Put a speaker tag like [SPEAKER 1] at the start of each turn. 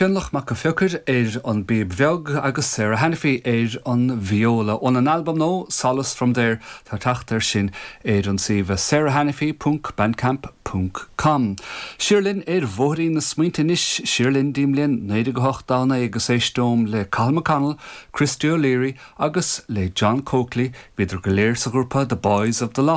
[SPEAKER 1] Fionnlach Mac an Phiocaire ar an bpíob bheag agus Sarah Hanniffy ar an vióla. Óna n-albam nua, Solace From There, tá teacht air sin ar an suíomh sarahhanniffy ponc bandcamp ponc com. Siar linn ar bhóithrín na smaointe anois, siar linn dtí'n mbliain 1989 agus éisteom le Cathal McConnell, Christy O'Leary agus le John Coakley, bhíodar go léir sa ghrúpa The Boys of the Lough.